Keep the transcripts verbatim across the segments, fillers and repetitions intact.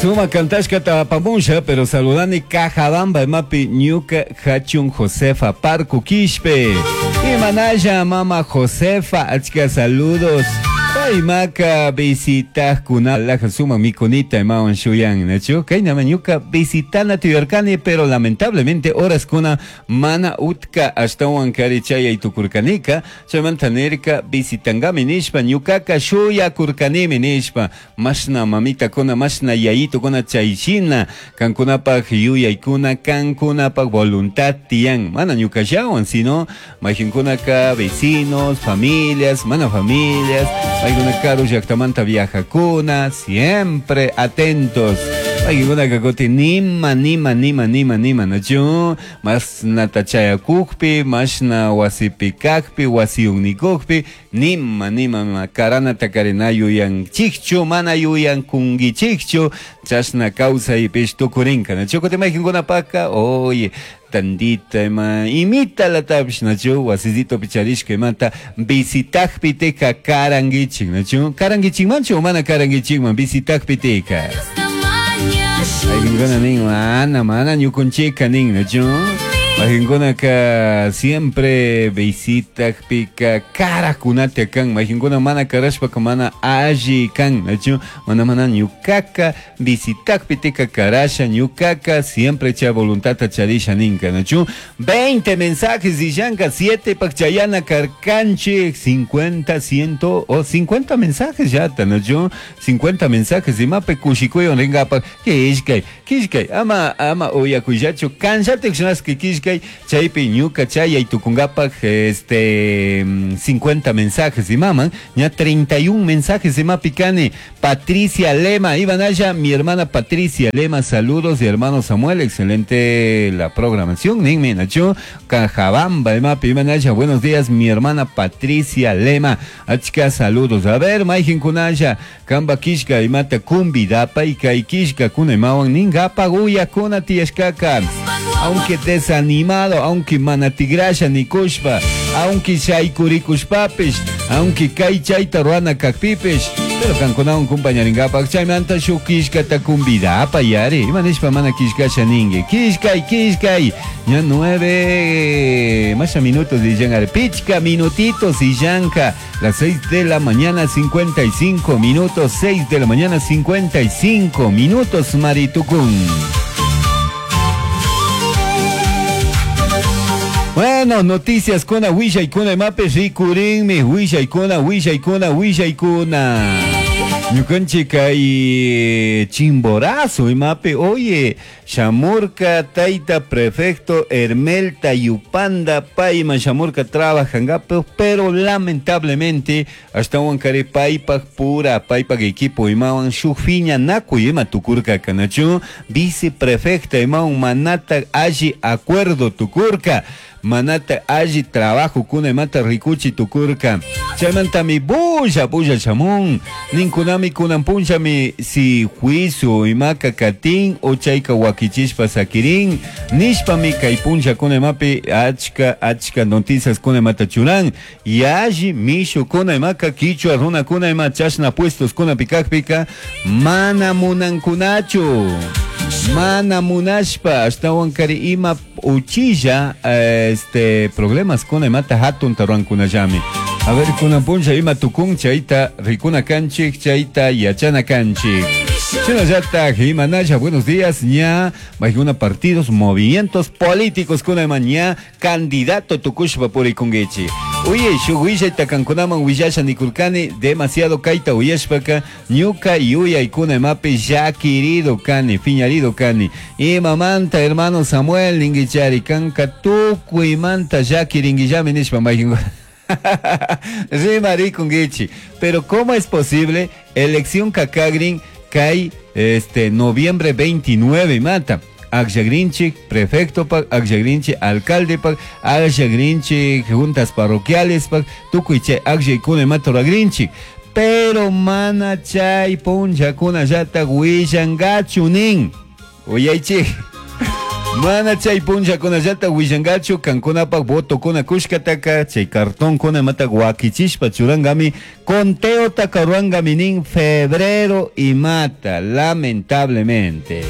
Suma kantashkata apamusha, pero saludani Cajabamba imapi ñuka hachun Josefa Parco Quishpe. Imanalla mama Josefa, achka saludos. Paymaka visitajkuna laja suma mikunita imawan shuyan, nachu? Kaynama ñuka visitana tuyarkani, pero lamentablemente horas kuna mana utka ashtawan kari chayay tukurkanika, chaymanta nirka visitangami nishpa ñukaka shuyakurkanimi nishpa, mashna mamitakuna, mashna yayitukuna chayshina, kankunapaj yuyaykuna, kankunapaj voluntad tiyan, mana ñukallawan, sino mayqinkunaka vecinos, familias, mana familias, paykuna karu llaqtamanta viajakuna, siempre atentos. Paykunaka kutin nima, nima, nima, nima, nima, nachu? Mashnata chayakukpi, mashna wasipi kakpi, wasiyunikukpi, nima, nima, nima, karanata karina yuyanchikchu, mana yuyankunkichikchu, chashna kawsaypish tukurinka, nachu? Kutin mayqinkunapaka, oye, tandita ima imita latapish, nachu? Wasisito picharishka imata visitakpi teka karankichik, nachu? Karankichikmanchu o mana karankichikman visitakpi teka? Mayqinkuna nin, mana, mana ñukunchika nin, nachu? Mayqinkunaka siempre visitakpika karakunata kan, mayqinkuna mana karashpaka mana alli kan, nachu? Mana, mana ñukaka visitakpi teka karasha, ñukaka siempre chay voluntadta charisha ninka, nachu? veinte mensajes y yanka, siete pakchayana karkanchik, cincuenta, ciento o cincuenta mensajes ya, nachu? cincuenta mensajes y mape kushikuyon ringapa, kishkay, kishkay, ama, ama uyakuyachu, kanchatik shinaski kishkay, chaypi ñuka chayay tukunkapaj, este, cincuenta mensajes y maman, ña treinta y un mensajes y mapicani. Patricia Lema, Ivanaya, mi hermana Patricia Lema, saludos, y hermano Samuel, excelente la programación, ninme nacho, Cajabamba, mapi, Ivanaya, buenos días, mi hermana Patricia Lema, achka saludos. A ver, mayjin kunaya, kamba kishka, imata kumbidapa, y kay kishka kuna imawan, ningapa guya kuna tiashkaka. Aunque desanimado, aunque manatigrasha ni kushpa, aunque shaykurikushpapish, aunque kay chayta ruana kakpipish, pero kankunawan kumpañarinkapak chaymanta shuk kishkata kumbidapa yari. Imanishpa mana kishkasha ninki. Kishkay, kishkay. Ya nueve más minutos y llangar. Pichka minutitos y llanka. Las seis de la mañana cincuenta y cinco minutos. Seis de la mañana cincuenta y cinco minutos, Maritucún. Bueno, noticias con Huilla y con Mape Ricurinmi, Huilla y con Huilla y con Huilla y con Ñukanchika y Chimborazo y Mape, oye, Shamurka, Taita, prefecto, Hermelta, Yupanda, Paima, Shamurka trabajan, pero lamentablemente, hasta Huancaré, Paipa, pura, Paipa, equipo, Imawan, Shufiña, Naku, Ima, Tucurca, Canachu, viceprefecta, Imawan, Manata, allí, acuerdo, Tucurca. Manata alli trabajo kuna mata rikuchi tukurka. Chaymantami bulla bulla chamun. Ninkunami kunan punchami si juicio imaka katin o chayka wakichishpa sakirin. Nishpami kay puncha kuna imapi achka achka noticias kuna mata churan. Y alli mishu kuna imaka kichwa runa kuna ima chashna puestos kuna pikakpika. Mana munankunachu. Mana munashpa ashtawan kari ima uchilla este problemas kuna imata hatun taruankunallami. A ver kuna puncha ima tukun chayta rikuna kanchik chayta yachana kanchik. Shinallata imanalla, buenos días, ña majuna partidos, movimientos políticos kuna ima ña candidato tukushpa purikunguichi. Uye, shuguilla takankunaman willasha nikurkani, demasiado kaita uyashpaka, ñuka yuyay kuna imapi llakirido kani, fiñarido kani. Imamanta hermano Samuel ninguichari, kanka tukuymanta llakiringuillami nishpa mayjin. Rimarikunguichi. Pero ¿cómo es posible? Elección Kakagrin kai este noviembre veintinueve mata. Akllagrinchik, prefecto pak, akllagrinchik, alcalde pak, akllagrinchik, juntas parroquiales pak, tukuy chay akllaykuna imata ruragrinchik. Pero mana chay punllakuna llata willankachu nin. Uyaychik. Mana chay punllakunallata willankachu kankunapak votokuna kushkataka chay cartonkuna imata wakichishpa churankami conteotaka ruwankami nin febrero imata lamentablemente.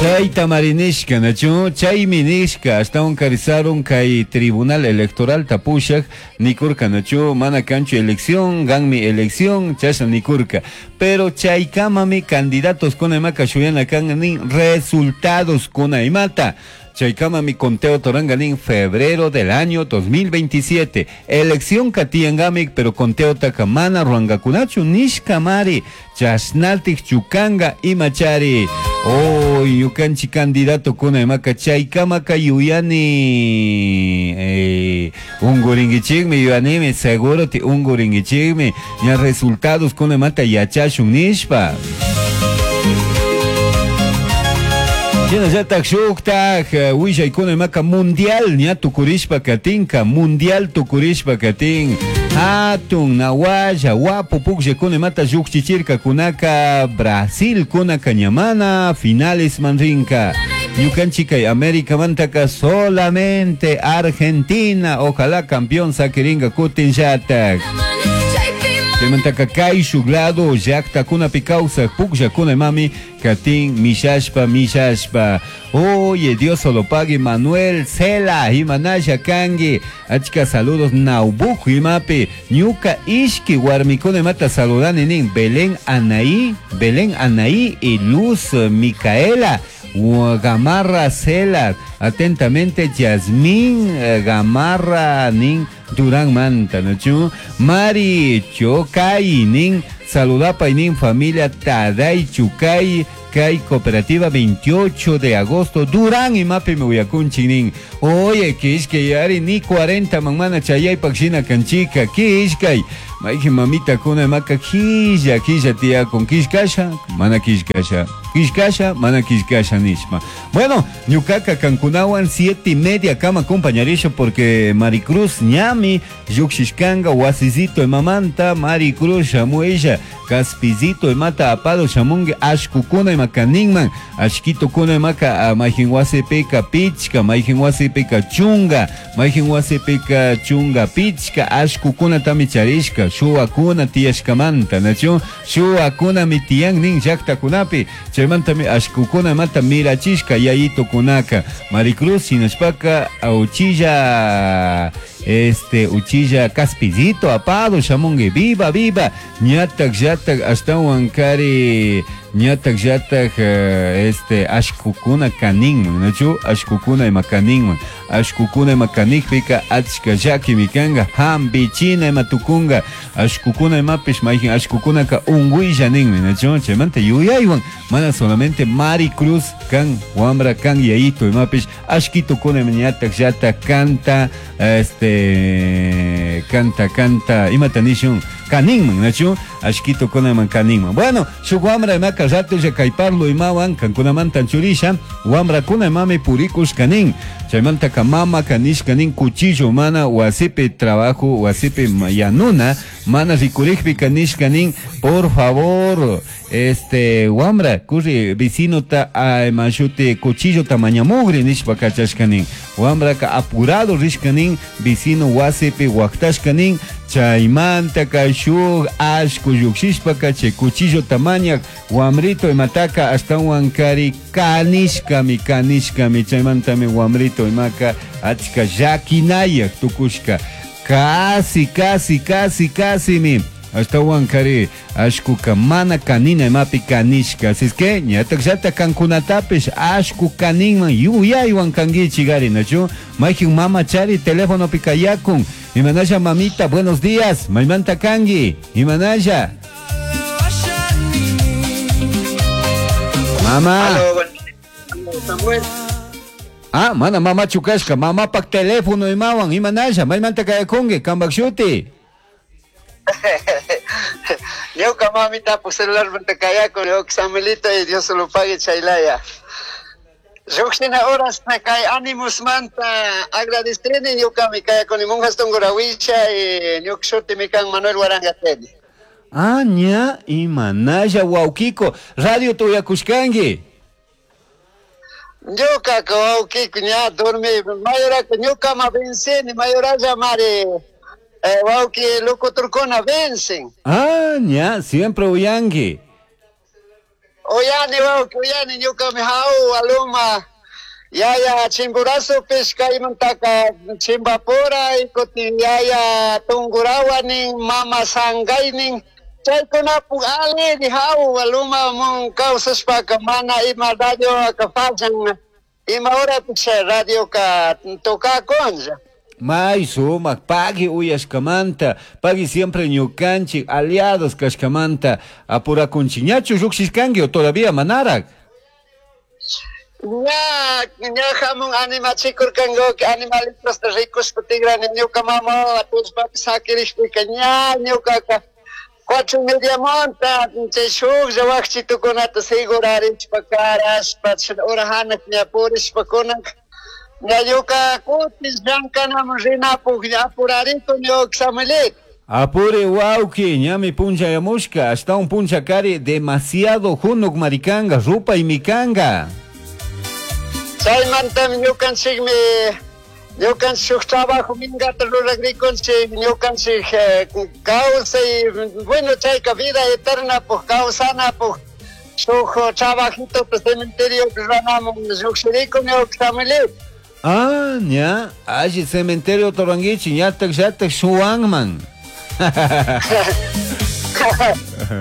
Chayta marinishka nachu chaymi nishka ashtawan karisarun kay tribunal electoral tapushak nikurka nachu mana kanchu elección ganmi elección chashna nikurka pero chaykamami candidatos kuna imaka shuyana kan nin resultados kuna imata chaykamami conteo toranga nin febrero del año dos mil veintisiete elección katiangami pero conteo taka mana ruangakunachu nishka mari chashnatik chukanga imachari. Oh, yukanchi candidato kuna imaka chaykamaka yuyani eh, unguringichikmi yuyanimi seguro ti unguringichikmi ña resultados kuna imata yachashun nishpa. Shinallatak shuktak willaykuna imaka mundial ña tukurishpa katinka mundial tukurishpa katin hatun nawalla wapu pukllakuna imata llukchichirkakunaka Brasil kunaka ñamana finales manrinka ñukanchik kay América mantaka solamente Argentina ojalá campeón sakirinka kutin llatak. Chaymantaka kay shuk lado llaktakunapi kawsaq pukllakuna imami katin mishashpa mishashpa. Oye, Dios lo pague Manuel Cela imanalla kanki achka saludos Naubuj imapi ñuka ishki warmikuna imata saludani nin Belén Anaí Belén Anaí y Luz Micaela Gamarra Cela atentamente Yasmín Gamarra nin Durán Manta nachu Mari Chocay nin saludapay nin familia Taday Chucay kay cooperativa veintiocho de agosto Durán imapi me uyakunchik nin oye kishkay yari ni cuarenta man mana chayaypak shina kanchika kishkay mayqin mamita kuna imaka killa killa tiyakun kishkasha mana kishkasha kishkasha mana kishkasha nishpa. Bueno, ñukaka kankunawan siete y media kama acompañarisha porque Maricruz ñami llukshishkanka wasisito imamanta Maricruz shamuisha kaspizito imata apado shamunki ashkukuna imakaninman ashkitokuna imaka mayqin wasipika pichka mayqin wasipika chunga mayqin wasipika chunga pichka ashkukunatami charishka shuwakuna tiyashkamanta nachu shuwakunami tiyan nin llaktakunapi chaymantami ashkukuna imata mirachishka yayitokunaka Maricruz shinashpaka uchilla este uchilla kaspillito apado shamunki viva viva ñatak llatak ashtawan kari ñatak llatak este ashkukuna kaninman nachu ashkukuna ima kaninman ashkukuna ima kanikpika achka llakimi kanka hampichina ima tukunka ashkukuna imapish mayqin ashkukunaka unquylla ninmi nachu chaymanta yuyaywan mana solamente Maricruz kan wambra kan yayito imapish ashkitukuna ima ñatak llatak kanta este canta canta imata nishun kaninman nachu ashkitukuna iman kaninman. Bueno, shuk wambra imaka ratulla kay parlo imawan kankunamantan churisha wambrakuna imami purikush kanin chaymantaka mama kanishka nin cuchillo mana wasipi trabajo wasipi yanuna mana rikurikpi kanishka nin por favor este wambra kurri vecinota mashuti cuchillo tamañamugri nishpa kachashka nin wambraka apurado rishka nin vecino wasipi waqtashka nin chaymantaka shuk ashku llukshishpaka chay cuchillo tamañak wamrito imataka ashtawan kari kanishkami kanishkami chaymantami wamrito imaka achka llakinayak tukushka casi casi casi casimi ashtawan kari ashkuka mana kanina imapi kanishka así es que ñatak llata kankunatapish ashku kaninman yuyaywan kankichik ari nachu mayqin mama chari telefonopi kayakun imanalla mamita buenos días maymanta kanki imanalla mama. Aló, Samuel. Ah, mana mama chukashka mamapak teléfono imawan imanalla maymanta kayakunki kanpak shuti. Ñuka mamita por celular manta kayakun ñuka Samuelito y Dios lo pague chaylaya. Lluqshina horas kay animus manta agradeceni ñukami kayakuni monjas tungurawisha y ñuka shutimi kan Manuel Warangateni. Ah, ña imanalla wawkiko radio tuyakushkanki. Ñuka wawkiku ña dormi mayoraka ñukama venceni mayoralla mari eh, wawki locutorkuna vencen. Ah, ña, siempre uyangi. Uyani wawki uyani ñukami hau aluma yaya Chimborazo kaymantaka Chimbapura ikutin yaya Tungurahua nin mama Sangay nin chaykunapu aliri hau aluma mun kawsashpaka mana ima radio ka fallan ima horapish radio ka tocakunlla. May sumak, pagui uyashkamanta, pagui siempre ñukanchik, aliados kashkamanta, apurakunchik. ¿Ñachu lluqshishkanki o todavía manarak? Ña, ña hamun animachikurkanku animalitos rikushpa tigrani ñuka mama tullpapi sakirishpika ña ñukaka cuatro y media monta chay shuklla wakchitukunata segurarishpa karashpa ura hanak ña purishpa kunanka ña ñuka kutin llankanaman rinapuk ña apurarikun ñuka Samuelito. Apure wawki, ñami punchayamushka, hasta un punchakari demasiado junuk maricanga, rupa y mikanga. Chaymantami ñukanchikmi ñukanchik shuk trabajo minkata ruragrikunchik ñukanchik eh, kawsay bueno chayka vida eterna puk kawsanapuk shuk trabajito cementerio ruranamun llukshirikun ñuka Samuelito. Ah, ña, alli cementerio toranguichi, ñatak llatak shuwanman.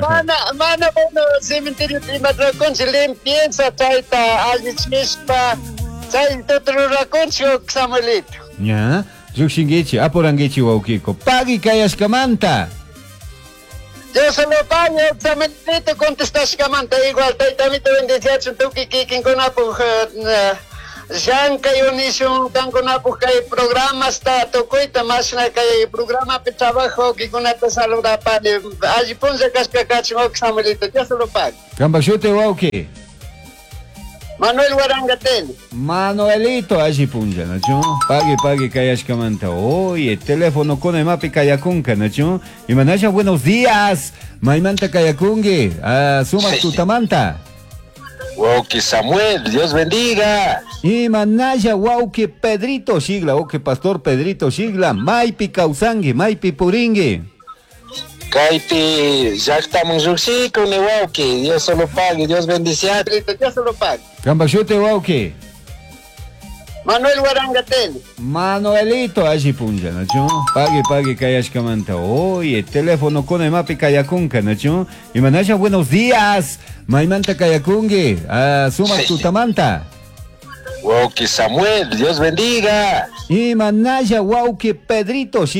Mana, mana bueno cementerio imarakunchik limpieza chayta allichishpa chay rurakunchik Samuelito. Ña, llukshinkichi, apurankichi wawkiko. Pagui kayashkamanta. Dios lo pague, Samuelito contestashkamanta igual taytamito bendiciachun tukuy kikinkunapuk llankay unishun kankunapuk kay programasta tukuyta mashna kay programapi trabajo kikunata saludapani alli punlla kashka kachun Samuelito Dios lo pague. Kampak shuti wawki. Manuel Warangateni. Manuelito alli punlla, ¿nachu? Pagui, pagui kayashkamanta. Oye, teléfono kuna imapi kayakunka, ¿nachu? Imanasha, buenos días. Maymanta kayakunki. Ah, sumak tutamanta. Wauki Samuel, Dios bendiga. Imanaya wauki Pedrito Shigla, wauki Pastor Pedrito Shigla, maypi kawsanki, maypi purinki. Kaypi llaqtaman lluqshikuni wauki, Dios solo pague, Dios bendicia. Pedrito, Dios solo pague. Kampak shuti wauki. Manuel Warangateni. Manuelito alli punlla, ¿nachu? Pagui, pagui kayashkamanta. Oye, teléfono kuna imapi kayakunka, ¿nachu? Imanasha, buenos días. Maymanta kayakunki. Ah, sumak tutamanta. Wauki Samuel, Dios bendiga. Imanaya wauki Pedrito Shigla.